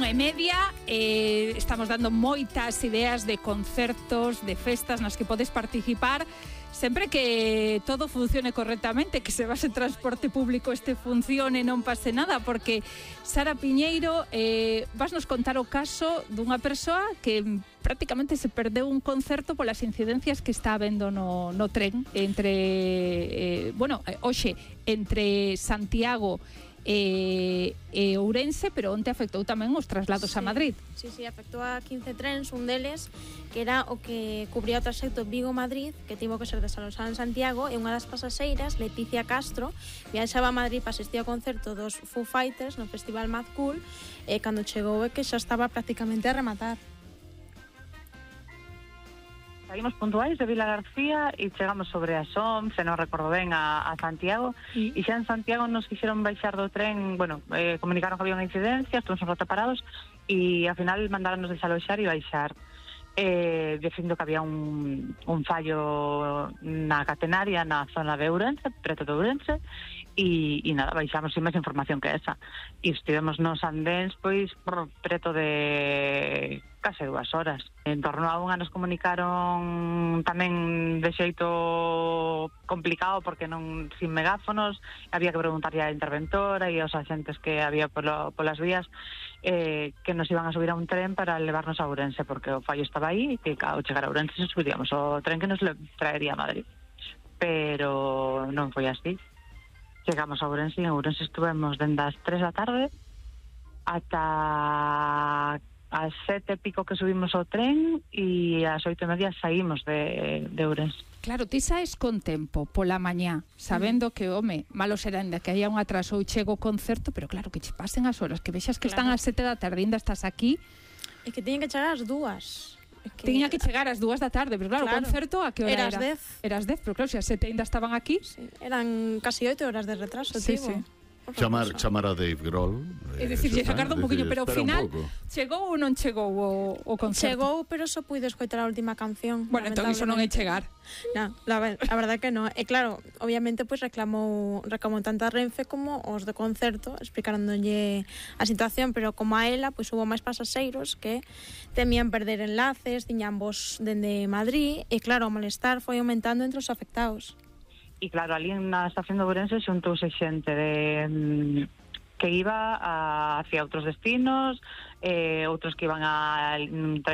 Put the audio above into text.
1:30, estamos dando moitas ideas de concertos, de festas nas que podes participar, sempre que todo funcione correctamente, que se base transporte público funcione, non pase nada, porque Sara Piñeiro, vas nos contar o caso dunha persoa que prácticamente se perdeu un concerto polas incidencias que está habendo no tren entre, hoxe, entre Santiago e Ourense, pero onte afectou tamén os traslados a Madrid. Sí, afectou a 15 trens, un deles que era o que cubría o traxecto Vigo-Madrid, que tivo que ser desalojado en Santiago, e unha das pasaxeiras, Leticia Castro, viaxaba a Madrid para asistir ao concerto dos Foo Fighters no Festival Mad Cool, e cando chegou é que xa estaba prácticamente a rematar. Saímos puntuais de Vila García e chegamos sobre as 11, non recordo ben, a Santiago, e xa en Santiago nos quixeron baixar do tren, comunicaron que había unha incidencia, estuvimos un rato parados e ao final mandaronnos desaloxar e baixar, dicindo que había un fallo na catenaria na zona de Ourense, preto de Ourense, e nada, baixamos sin máis información que esa, e estivemos nos andéns pois preto de case 2 horas. En torno a unha nos comunicaron tamén de xeito complicado, porque non sin megáfonos, había que preguntarlle á interventora e aos axentes que había polas vías, que nos iban a subir a un tren para levarnos a Ourense, porque o fallo estaba aí e que ao chegar a Ourense subiríamos o tren que nos traería a Madrid, pero non foi así. Chegamos a Ourense e en Ourense estuvemos dende as 3 da tarde ata as 7 e pico que subimos ao tren e ás 8:30 saímos de Ourense. Claro, ti saes con tempo pola mañá, sabendo que, malo será ainda que haya un atraso ou chego o concerto, pero claro, que che pasen as horas, que vexas que están ás 7 da tarde, ainda estás aquí. É que teñen que chegar ás 2. Tiña que chegar ás 2 da tarde, pero claro, o concerto a que hora era? Era as 10, pero claro, se as 7 ainda estaban aquí. Sí, eran casi 8 horas de retraso, sí. Chamar a Dave Grohl, é dicir, sacardo un poquinho, pero ao final chegou ou non chegou o concerto? Chegou, pero só puido escoitar a última canción. Bueno, entón iso non é chegar. Non, a verdade que non. E claro, obviamente pois reclamou tanto a Renfe como os do concerto, explicándolle a situación, pero como a ela, pois hubo máis pasaxeiros que temían perder enlaces, tiñan voz dende Madrid, e claro, o malestar foi aumentando entre os afectados. E claro, ali na estación de Ourense xuntouse xente que iba hacia outros destinos, outros que iban tranquilos